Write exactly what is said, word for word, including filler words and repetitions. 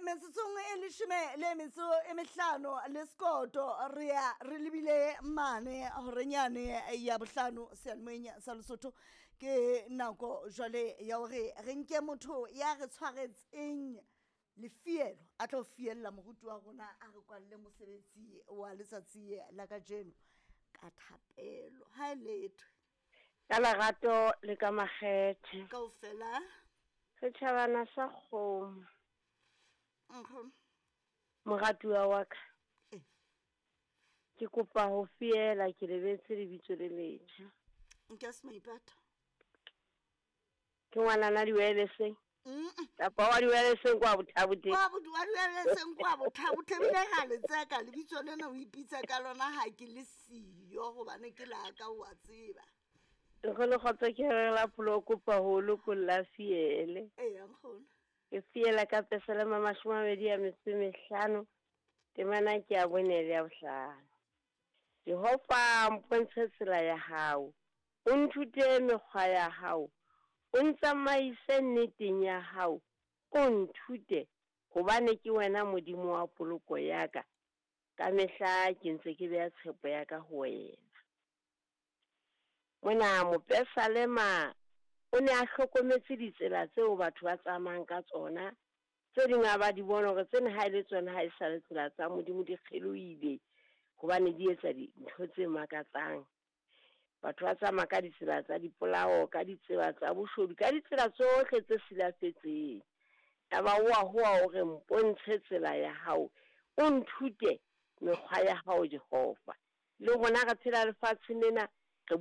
Metsotsong e leshome le metso e mehlano le sekoto re ya re lebile mane horenyane ya bohlano seyalemoyeng sa Lesotho. Ke nako jwale ya hore re nke motho ya re tshwaretseng lefielo a tlo fiella moruti wa rona, a re kwalle mosebetsi wa letsatsi la kajeno ka thapelo. Ha e lethwe Ka lerato le ka makgethe. Kaofela. Setjhabana sa kgomo. Nkgono. Moratuwa wa ka. Eh. Ke kopa ho fiela, ke lebetse lebitso le letjha. Nka se maipata. Ke ngwanana diweleseng. Mm. Kapa wa diweleseng kwa bothaboteng. Wa bo wa diweleseng kwa bothaboteng, ebile ra le tseka lebitso lena o ipitsa ka lona ha ke le siyo hobane ke la ka, o a tseba. Nkgono kgotso, ke re la pholo, kopa ho lokolla fiele. Eya nkgono. Ke fiela ka Pesalema mashome a mabedi a metso e mehlano, temana ke ya bone le ya bohlano. Jehova, mpontshe tsela ya hao, o nthute mekgwa ya hao, o ntsamaise nneteng ya hao, o nthute, hobane ke wena Modimo wa poloko ya ka. Ka mehla ke ntse ke beha tshepo ya ka ho wena. Mona mopesalema o ne a hlokometse ditsela tseo batho ba tsamayang ka tsona, tse ding a ba di bona hore tsena ha e le tsona ha e sa le tsela tsa Modimo, di kgelohile hobane di etsa dintho tse makatsang. Batho ba tsamaya ka ditsela tsa dipolao, ka ditsela tsa boshodu, ka ditsela tsohle tse silafetseng. Yaba o a howa o re, mpontshe tsela ya hao, o nthute mekgwa ya hao Jehova. Le rona re phela lefatsheng lena, re